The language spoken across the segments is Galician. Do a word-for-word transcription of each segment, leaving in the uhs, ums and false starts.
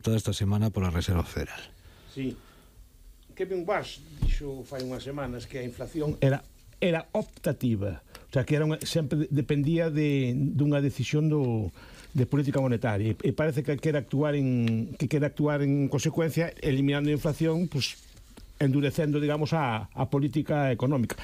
toda esta semana pola Reserva Federal. Sí. Kevin Walsh dixo fai unhas semanas que a inflación era era optativa, o sea, que era unha, sempre dependía de dunha decisión do de política monetaria, e parece que quere actuar en que quere actuar en consecuencia, eliminando a inflación, pues endurecendo, digamos, a, a política económica.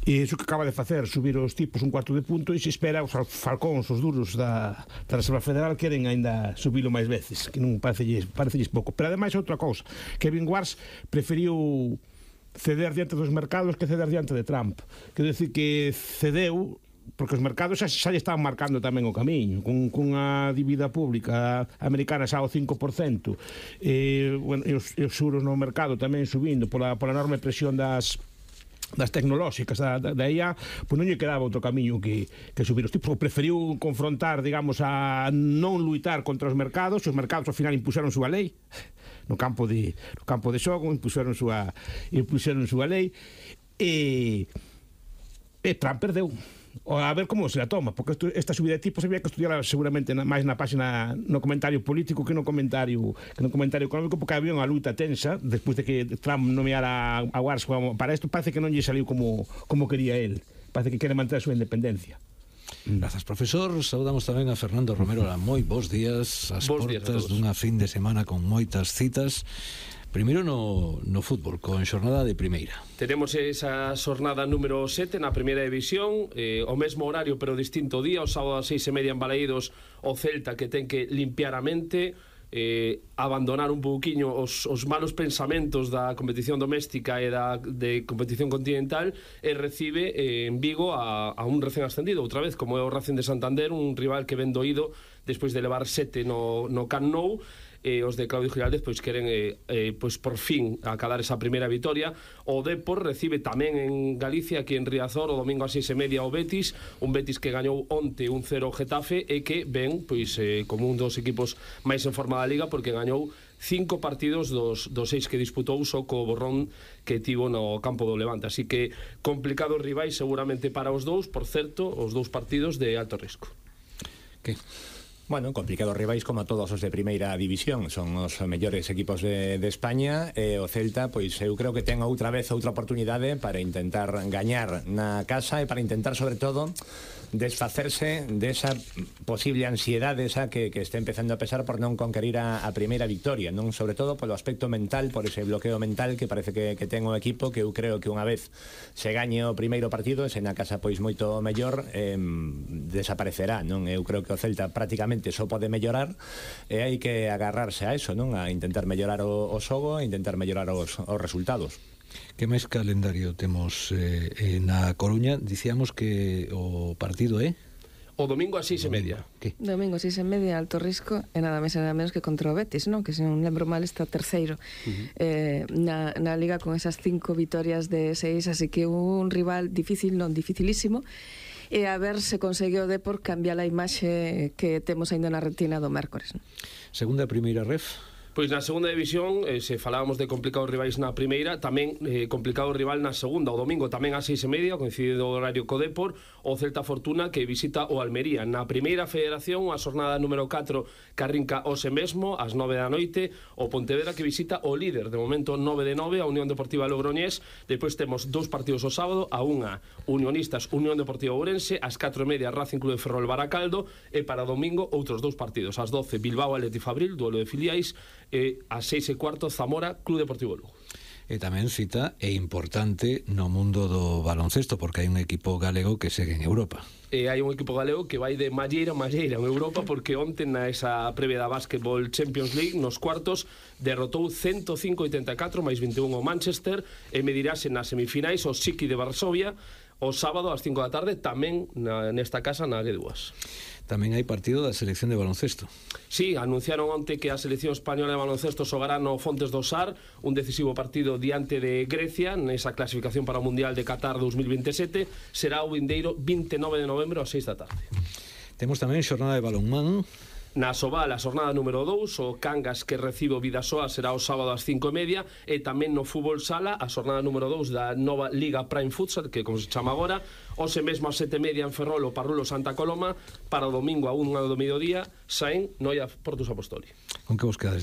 E iso que acaba de facer, subir os tipos un cuarto de punto, e se espera os falcóns, os duros da, da Reserva Federal queren ainda subilo máis veces, que non parecelles, parecelles pouco. Pero ademais outra cousa, Kevin Walsh preferiu ceder diante dos mercados que ceder diante de Trump. Quero dicir que cedeu porque os mercados xa, xa lle estaban marcando tamén o camiño, con, con a dívida pública americana xa ao cinco por cento, e, bueno, e, os, e os xuros no mercado tamén subindo pola, pola enorme presión das das tecnolóxicas da, da, da I A, pois non lle quedaba outro camiño que, que subir os tipos. Preferiu confrontar, digamos, a non luitar contra os mercados. Os mercados ao final impuseron súa lei no campo de no campo de xogo, impuseron súa impuseron súa lei, e e Trump perdeu. A ver como se la toma, porque esto, esta subida de tipos había que estudiar seguramente na, máis na página, no comentario político que no comentario que no comentario económico, porque había unha luta tensa despois de que Trump nomeara a Walsh para isto. Parece que non lle saliu como, como quería él, parece que quere manter a súa independencia. Grazas, profesor. Saudamos tamén a Fernando Romero. Moi bons días, as bons portas días dunha fin de semana con moitas citas. Primeiro no, no fútbol, con xornada de primeira. Tenemos esa xornada número sete na primeira división, eh, o mesmo horario pero distinto día. O sábado ás seis e media en Balaídos, o Celta, que ten que limpiar a mente, eh, abandonar un pouquiño os, os malos pensamentos da competición doméstica e da de competición continental, e recibe eh, en Vigo a, a un recén ascendido outra vez, como é o Racing de Santander, un rival que ven doído despois de levar sete no, no Camp Nou. Eh, os de Claudio Giraldez pois queren eh, eh, pois por fin acadar esa primeira vitoria. O Depor recibe tamén en Galicia, aquí en Riazor, o domingo a seis e media o Betis, un Betis que gañou onte un cero Getafe, e que ven pois eh, como un dos equipos máis en forma da Liga, porque gañou cinco partidos dos, dos seis que disputou, só co borrón que tivo no campo do Levante. Así que complicados rivais seguramente para os dous, por certo, os dous partidos de alto risco. Que? Bueno, complicados rivais como todos os de primeira división, son os mellores equipos de, de España, e o Celta, pois eu creo que ten outra vez outra oportunidade para intentar gañar na casa, e para intentar, sobre todo, desfacerse desa posible ansiedade esa que, que está empezando a pesar por non conquerir a, a primeira victoria, non, sobre todo polo aspecto mental, por ese bloqueo mental que parece que, que ten o equipo, que eu creo que unha vez se gañe o primeiro partido, se na casa pois moito mellor, eh, desaparecerá, non? Eu creo que o Celta prácticamente só pode mellorar, e hai que agarrarse a eso, non? A intentar mellorar o, o xogo, a intentar mellorar os, os resultados. Que máis calendario temos eh, eh, na Coruña? Dicíamos que o partido é o domingo a seis e media. Que? Domingo a seis e media, alto risco, e nada máis e nada menos que contra o Betis, non? Que se non lembro mal está terceiro uh-huh. eh, na, na Liga, con esas cinco vitorias de seis, así que un rival difícil, non dificilísimo, e a ver se consegue o Depor cambiar a imaxe que temos ainda na retina do mércores, non? Segunda e primeira ref. Pois na segunda división, eh, se falábamos de complicados rivais na primeira, tamén eh, complicado rival na segunda. O domingo tamén a seis e media, coincide o horario co Depor, o Celta Fortuna, que visita o Almería. Na primeira federación, a xornada número catro, que arrinca hoxe mesmo, ás nove da noite, o Pontevedra, que visita o líder, de momento nove de nove, a Unión Deportiva Logroñés. Depois temos dous partidos o sábado, a unha Unionistas, Unión Deportiva Ourense, ás catro e media, Racing Club de Ferrol Baracaldo, e para domingo outros dous partidos, ás doce, Bilbao Athletic Fabril, duelo de filiais, e a seis e cuarto, Zamora Club Deportivo Lugo. E tamén cita é importante no mundo do baloncesto, porque hai un equipo galego que segue en Europa. E hai un equipo galego que vai de malleira a malleira en Europa, porque onte na esa previa da Basketball Champions League, nos cuartos, derrotou ciento cinco a oitenta e catro máis vinte e un o Manchester, e medirase nas semifinais o Siki de Varsovia o sábado ás cinco da tarde, tamén na, nesta casa na G dúas. Tamén hai partido da selección de baloncesto. Sí, anunciaron onte que a selección española de baloncesto xogará no Fontes do Sar, un decisivo partido diante de Grecia nesa clasificación para o Mundial de Qatar dos mil veintisiete. Será o vindeiro vinte e nove de novembro ás seis da tarde. Temos tamén xornada de balonmán. Na Sobal, a xornada número dous, o Cangas, que recibe o Vidasoa, será o sábado ás cinco e media, e tamén no fútbol sala, a xornada número dous da nova Liga Prime Futsal, que como se chama agora, hoxe mesmo ás sete e media en Ferrol, o Parrulo Santa Coloma, para o domingo a unha do mediodía, Saén, Noia, Portus Apostoli. Con que vos quedades?